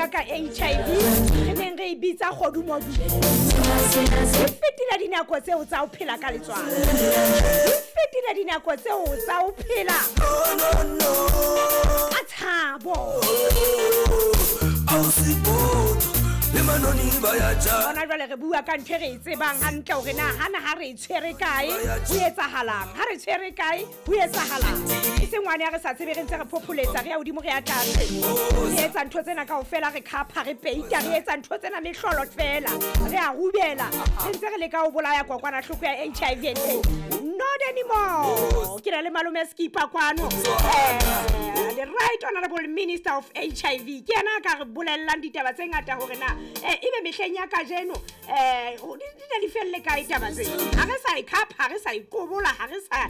bua ka HIV re neng re e bitsa kgodumodumo. Di fetile dinako tseo tsa ho phela ka letswalo, di fetile dinako tseo tsa ho phela ka tshabo. Hona jwale re bua ka ntho e re e tsebang hantle hore na hana ha re e tshwere kae ho etsahalang, ha re tshwere kae ho etsahalang. E seng ngwane ya re sa tsebe, re ntse re phopholetsa, re ya hodimo, re ya tlase, re etsa ntho tsena kaofela, re khapha, re peita, re etsa ntho tsena mehlolo fela, re a rubela, re ntse re leka ho bolaya kokwanahloko ya HIV and AIDS. Not anymore. Ke na le malome Skipper kwano, the right honorable minister of HIV. Ke yena a ka re bolellang ditaba tse ngata hore na ebe mehleng ya kajeno di ne di felle kae taba tse. Ha re sa e khapha, ha re sa e kobola, ha re sa.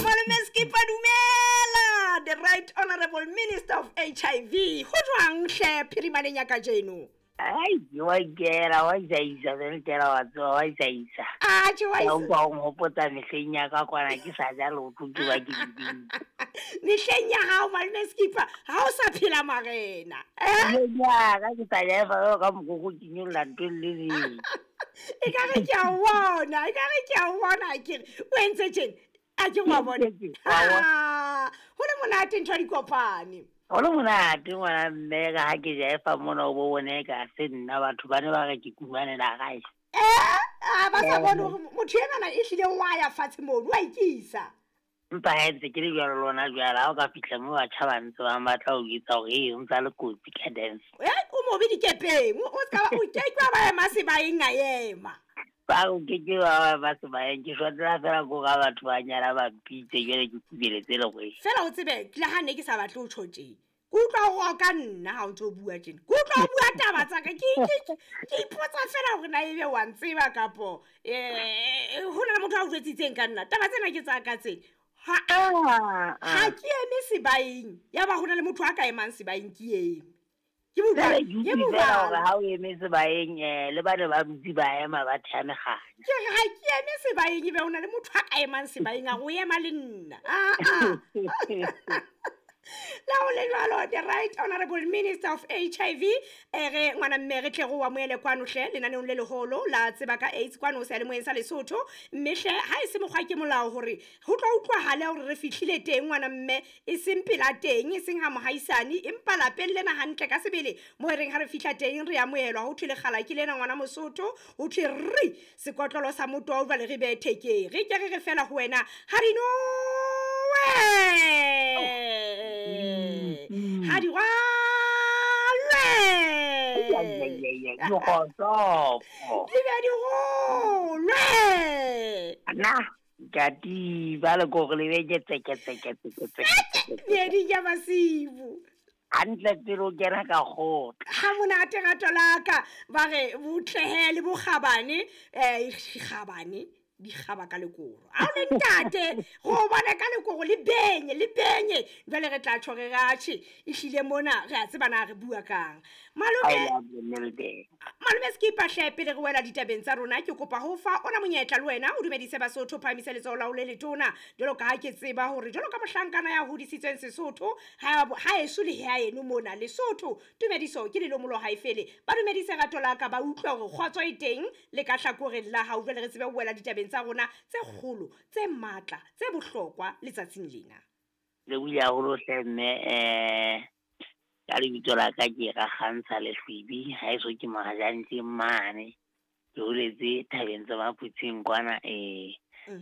Malome Skipper, dumela, the right honorable minister of HIV. Ho jwang hle phirimaneng ya kajeno? Ai, wa ikela, wa isaisa, fela wa tsoha, wa isaisa. Atjhe, wa Ka isa. utlwa o nhopotsa mehleng ya ka kwana ke sa ja leoto ke ba ke dibini. Mehleng ya hao malome Skipper, ha o sa phela marena. Mehleng ya ka ke sa ja efa jwalo ka mokoko ke nyolla ntho e le leng. Ekare ke a o bona, ekare ke a o bona akere. O entse tjena, a ke wa bona. Wa bona. Ha, ho le monate ntho ya dikopane. Ho le monate ngwana mme ka ha ke jaefa mona o bo bone ka se nna batho ba ne ba re ke kumanela gae. A ba sa bone hore motho enwana e hlile wa ya fatshe mono, wa ikisa. Empa ha ntse ke le jwalo lona jwale, ha o ka fihla moo batjha ba ntse ba batla ho jwetsa hore ee, o ntsa le kotsi ka dance. O mobe dikepeng, o ska ba, o ke ke wa ba ema sebaeng a ema. Ba o ke ke wa ba sebaeng, ke shwatela fela ko ga batho ba nyala ba mpitse jwale ke kubeletse le go. Fela o tsebe, le ha ne ke sa batle ho tjho tje. Ke utlwa o roka nna ha o ntso bua tjena. Ke utlwa o bua taba tsa ka. Ke ipotsa fela hore na ebe wa ntseba kapo, ho na le motho a o jwetsitseng ka nna. Taba tsena ke tsa ka tse. Ha ke eme sebaeng, ya ba ho na le motho a ka emang sebaeng ke eme. Ke Jwale bua, ke ke utlwe bua. fela hore ha o eme sebaeng, le bane ba dutse ba ema ba thea mekganya. Ke re ha ke eme sebaeng ebe ho na le motho a ka emang sebaeng a re o ema le nna. La ho le jwalo, the right honorable minister of HIV, re ngwana mme re tle re o amohele kwano hle lenaneong le leholo la tseba ka AIDS kwano seyalemoyeng sa Lesotho. Mme hle ha e se mokgwa ke molao hore ho tlo utlwahale hore re fihlile teng ngwana mme, e seng pela teng, e seng ha mohaisane, empa lapeng lena hantle ka sebele mo re reng ha re fihla teng re amohelwa, ho thwe lekgala ke lena ngwana Mosotho, ho thwe re sekotlolo sa motoho jwale re behe thekeng, re ke re re fela ho wena ha di nowe, ha di rwalwe, Dikgohlopo. di be di rolwe. Nna ke a tiba le kore le be ke tseke, tseke, tseke, tseke, tseke. Meeding ya masibu. Hantle pele o kena ka kgotla. Ha monate rato la ka, ba re botlehe le bokgabane, kgabane, di kgaba ka lekoro. Ha o le ntate, re o bone ka lekoro le benye, le benye. Jwale re tla tjho re ratjhe, ehlile mona re a tseba na re bua kang. Malome, I love you, Milton. Malome Skipper hle, pele re wela ditabeng tsa rona, ke kopa ho fa ona monyetla le wena o dumedise Basotho, phahamise letsoho la ho le letona. Jwalo ka ha ke tseba hore jwalo ka mohlankana ya hodisitsweng Sesotho, ha eso le ha eno mona Lesotho, tumediso ke lelomolo ha e fele. Ba dumedise rato la ka, ba utlwe hore kgotso e teng le ka hlakoreng la hao. Jwale re tsebe ho wela ditabeng tsa rona tse kgolo, tse matla, tse bohlokwa letsatsing lena. Le buile haholo hle mme, ka lebitso la ka ke Rakgantsha Lehlwibi, ha eso ke Mohajantse mane. Ke holetse thabeng tsa Maphutsing kwana,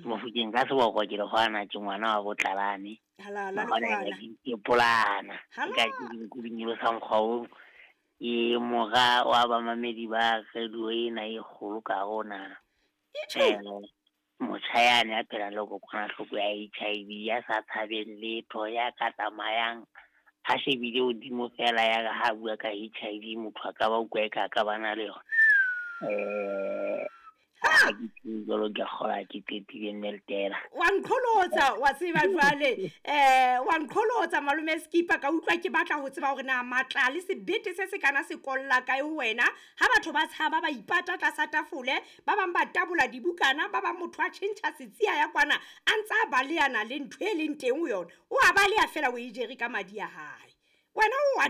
Mofokeng ka seboko ke le hwana, ke ngwana wa Botlalane. Halala, Ngwana lekgwana. ya ke polana. Halala. Ka ke dinku di nyolosa mokgwa oo. Ke mora wa bamamedi ba radio ena e kgolo ka rona. Itjho. Motjha yane ya phelang le kokwanahloko ya HIV, ya sa tshabeng letho, ya ka tsamayang a shebile hodimo fela ya re ha bua ka HIV motho a ka ba utlwa eka a ka ba na le yona. Ha ke tsebe jwalo, ke a kgolwa ke qetile mme Letela. Wa nqholotsa, wa tseba jwale. Wa nqholotsa malome Skipper, ka utlwa ke batla ho tseba hore na matla le sebete se se kana se kolla kae ho wena. Ha batho ba tshaba ba ipata tlasa tafole, ba bang ba tabola dibukana, ba bang motho a tjhentjha setsia ya kwana, a ntsa a baleana le ntho e leng teng ho yona. O a baleha fela o e jere ka madi a hae. Wena o wa